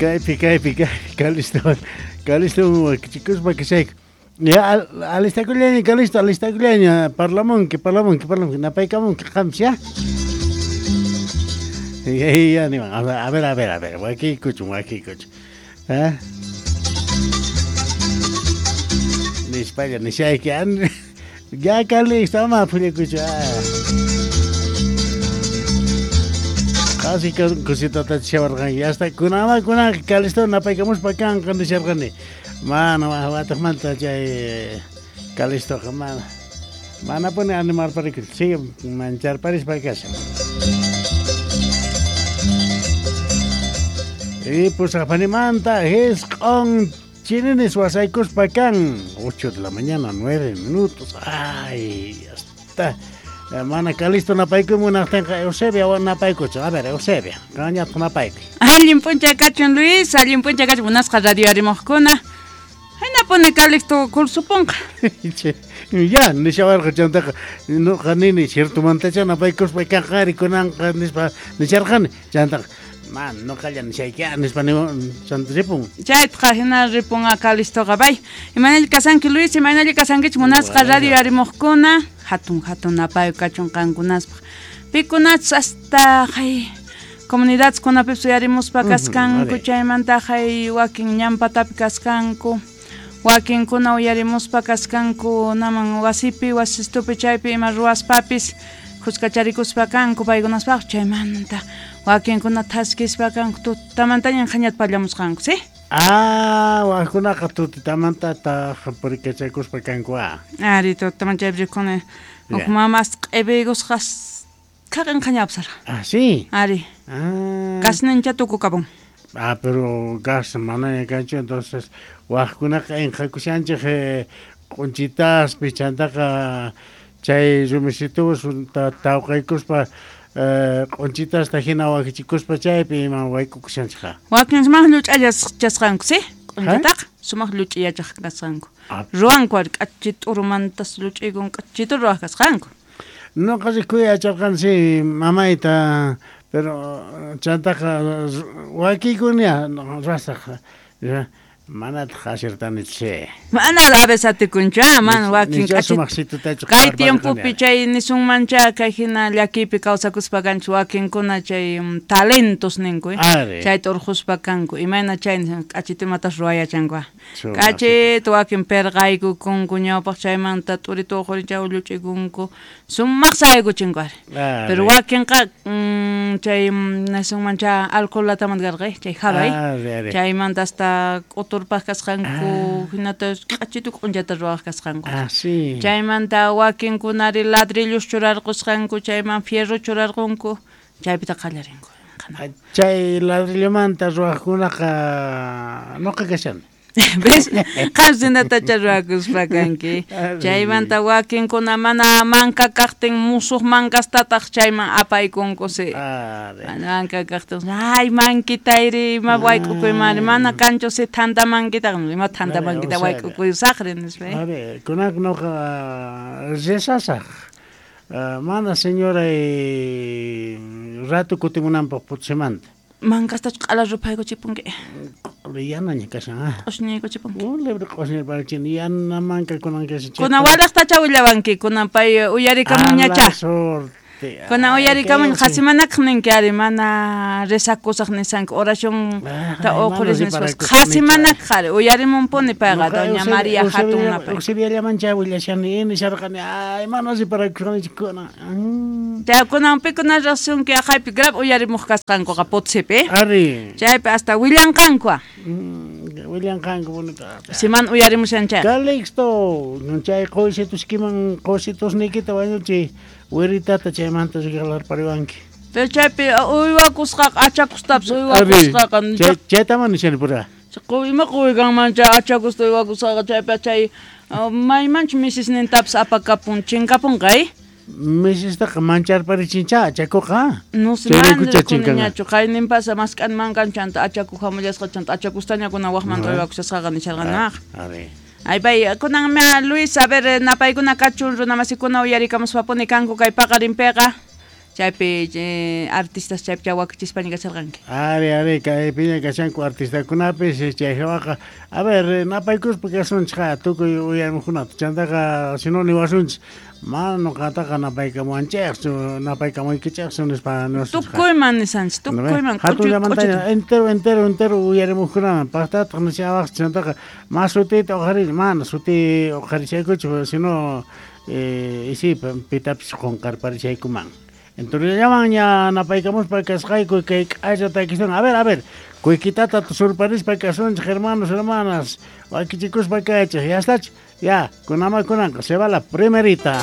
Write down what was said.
Kaypi, kaypi, kaypi, Calisto, Calisto wakichikuspa kashayku. Ya, alistakullaña, Calisto, alistakullaña, parlamunki, parlamunki, parlamunki, napaykamunki qamsi, ya? Ya, ya, niwan, a ver, a ver, a ver, a ver, wakiykuchun, wakiykuchun. ¿Eh? Nispalla, nishayki, ya, Calixto, ama phullakuchu, ah. Qasi cositata chishawarqanki, ya está, kunama, kunan, Calixto, napaykamuspa kanqa nisharqani. Mana, wataqmanta chay Calixtoqa, mana. Manapuni animarparikuchu, sigue mancharparispa kashan. Y pusaqpanimanta jisq'on chininis wasaykuspa kan, 8 de la mañana, 9 minutos. Ay, hasta mana Calixto napaykuy munaqtinqa Eusebia napaykuchu. A ver, Eusebia, qanñataq napaykuy. Allin p'unchay kachun, Luis, allin p'unchay kachun, munasqa radio arimuqkuna. Hinapuni Calixto kursupunqa. Ya, nishawarqa chantaqa, noqa nini, ciertomantacha napaykuspa kanqa kunanqa nispa nisharqani. Chantaqa, man, noqalla nishayki, nispa chanta ripun. Chaytaqa hina ripunqa Calixtoqa, bay. Imaynalla kasanki, Luis, imaynalla kasankichik munasqa radio arimuqkuna, hatun hatun napayu kachun qankunaspaq. Pikunachus hasta hay comunidades uyarimuspa kaskanku, chaymanta hay wakin ñampatapi kaskanku. Wakinkuna uyarimuspa kaskanku naman wasipi, wasistupi chaypi ima ruwaspapis khuskacharikuspa kanku paykunaspaq, chaymanta wakinkuna thaskispa kanku tutamantañan qhañata pallamusqanku, ¿sí? Ah, wakunaqa tutatamanta taq purikachakuspa kanku, ah. Ari, tutaman chaypi rikuni. Huk mamas q'ipiykusqas khaqin qhañapsarqa. Ah, sí. Ari. Ah. Gasnincha tukukapun. Ah, pero gas manaña kanchu, entonces wajkunaqa inqhakushanchik q'unchitaspi chantaqa chay rumisituwas tawqaykuspa q'unchitasta hina wakichikuspa chaypi ima waykukushanchikqa. Wakin sumaq lluch'allas chasqanku, sí? Q'unchitaqa sumaq lluch'iyachaq kasqanku. Ruwanku ari k'achi t'urumantas lluch'iykun k'achitu ruwaq kasqanku. Noqa rikuy yacharqani, sí, mamayta, pero chantaqa wakiykunia ruwasaq, manataq asirtanichu, sí. Mana a veces atikunchu, ah, mana wakin Nicha k'achi sumaqsitutachu kay qhawarparqani. tiempopi chay nisunmancha kay hina llakiypi kawsakuspa kanchu wakinkuna chay talentos ninku, Ari. Chayta urquspa kanku, imayna chay k'achitu imatas ruwayachanku, ah. Sumaq K'achitu wakin perqaykukunku ñawpaq chaymanta t'uritu uqhurin chay ulluch'ikunku, sumaq saykuchinku ari. Ari. Pero wakinqa, chay, nisunmancha alcohol latamanta karqa, chay jabay. Ari, ari. Chaymanta hasta k'uturpaq kasqanku, hinata k'achitu q'unchata ruwaq kasqanku. Ah, sí. Chaymanta wakinkunari ladrillos churarqusqanku, chayman fierro churarqunku, chaypita qallarinku. Chay ladrillomanta ruwaqkunaqa noqa kashani. ¿Ves? Qam sinatacha ruwakuspa kanki. Ari. Chaymanta wakinkuna mana manka kaqtin musuq mankastataq chayman apaykunku, sí. Ari. Mana manka kaqtin, ay, mankitayri, ima wayk'ukuymari, mana kanchu si thanta mankitaqa, ima thanta Ari, mankita o sea, wayk'ukuysaqri, nispa, eh. Ari, kunak noqa rezasaq. Mana señora rato kutimunanpaq Potsimanta. Mankastachu q'ala ruphaykuchipunki. Yanaña kashan, ah. Q'ushñiykuchipunki. Libre q'ushñiyparachin, yana manka kunan kashan. Kunan walaqtacha willawanki, kunan pay uyarikamunñacha. A la suerte. Kunan uyarikamuñ, Ay, qué qhasimanakaq ninki ari, mana rezakusaq nisanki, oración ta Ay, mana uqhuris nispas. riparakusaq Qhasimanakaq ari, uyarimunpuni payqa, Noqa doña María hatun napay. Eusebiallamancha willashani, nisharqani, ay, mana riparakusqanichu kunan. Chay kunan pikuna riqsinki, aqhaypi grave uyarimuq kasqankuqa Potsipi. Ari. Chaypi hasta willanqanku, ah. Willanqanku bonito. Siman uyarimushan chay. Calixto, chay qoysituskiman, qoysitusniykita wañuchi, wiritata chaymanta regalarpariwanki. Pero chaypi uywakusqaqa, achakustapas uywakusqaqa, Ari, chaytaman nishani pura. Ima quykanman chay achakusta uywakusqaqa, chaypi chay, maymanchu misisnintapas apakapun, chinkapunqa, eh? Misistaqa mancharparichincha, achakuqa. No sé, Chayraykucha mana chinkanqa. rikuniñachu, qayninpasa mask'anmankan chanta achaku hamullasqa, chanta achakustaña kunan wajmanta uywakushasqaqa nisharqanaq. Ari. Ay, bay, kunan mea, Luis, a ver, napaykuna kachun, runamasikuna uyarikamuspapuni kanku kay paqarinpiqa. Chaypi artistas chaypi chawakichispaña kasharqanki. Ari, ari, kaypiña kashanku artistakunapis chay hawaqa. A ver, napaykuspa kasunchik tukuy uyarimuqkunata. Chantaqa si no niwasunchik, mana nuqataqa napaykamuwanchikchu, napaykamuykichikchu nispa niwasunchik. Tukuyman nisanchik, tukuyman. Hatunllamantaña entero, entero, entero uyarimuqkunaman paqtataq nishawaqchik chantaqa ma sutiyta uqharini, mana suti uqharishaykuchu, sino isi pitapis qunqarparishaykuman. Entonces ña napaykamuspa kasqayku kay k'alla takiswan. A ver, a ver, kuykitata surparispa kasunchik, hermanos, hermanas, wakichikuspa kaychik, ya estach, ya, kunama kunanqa, se va la primerita.